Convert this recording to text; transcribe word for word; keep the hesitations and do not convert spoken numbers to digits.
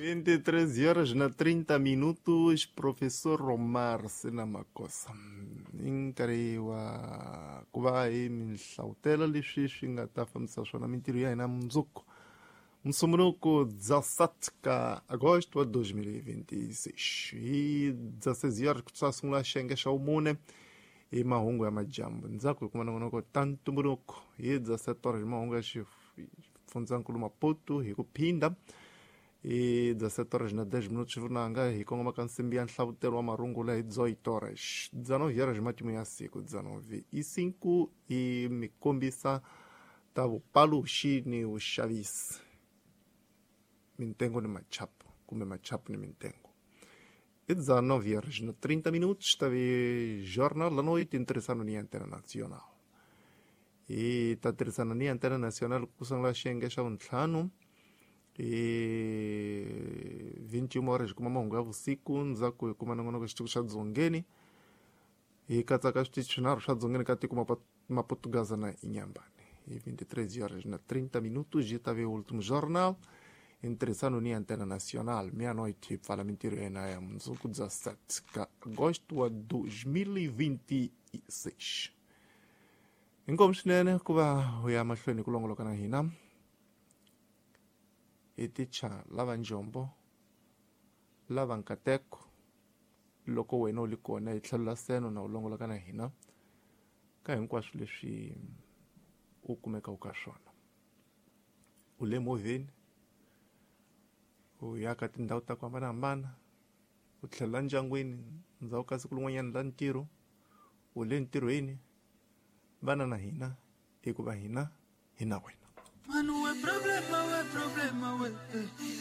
vinte e três horas na trinta minutos, professor Romar Senamakosa. I nkarhi wa ku va hi mi hlavutela leswi swi nga ta fambisa swona mintirho ya hina mundzuku Musumbunuko dezessete ka agosto wa dois mil e vinte e seis. Hi dezesseis horas ku ta sungula xiyenge xa vumune hi mahungu ya madyambu. Ndzhaku hi kuma nongonoko ta ntumbuluko hi dezessete horas hi mahungu ya xifundzankulu Maputo hi ku phinda hi dezessete horas na dez minutos vunanga hi kongoma ka nsimbi ya nhlavutelo wa marungula hi dezoito horas. dezenove horas matimu ya siku dezenove e cinco hi mi kombisa ta vupaluxi ni vuxavisi. Mintengo ni machapo, kumbe machapo ni mintengo. E dezenove horas e trinta minutos, teve Jornal da Noite interessando ni Antena Nacional. E tá interessando ni Antena Nacional kusangla xiyenge xa vuntlhanu e vinte e uma horas kuma mahungu ya vusiku ndzhaku hi kuma nongonoko xitiko xa dzongeni hi katsaka switichi swinharhu swa dzongeni ka tiko Maputugaza na Inhambane. E vinte e três horas na trinta minutos ji tave o último jornal interessando ni Antena Nacional, meia-noite, fala mentira ya mundzuku dezessete ka agosto wa dois mil e vinte e seis. Inkomu swinene ku va u ya mahlweni ku longoloka na hina hi ticha lava njombo lava nkateko loko wena u li kona hi tlhelo la seno na u longoloka na hina ka hinkwaswo leswi u kumekaka ka swona. U le movheni, u ya ka tindhawu ta ku hambanahambana, u tlhelela ndyangwini ndzhaku ka siku rin'wanyana la ntirho, u le ntirhweni, vana na hina hikuva hina hi na wena. Manu we problema we problema we eh.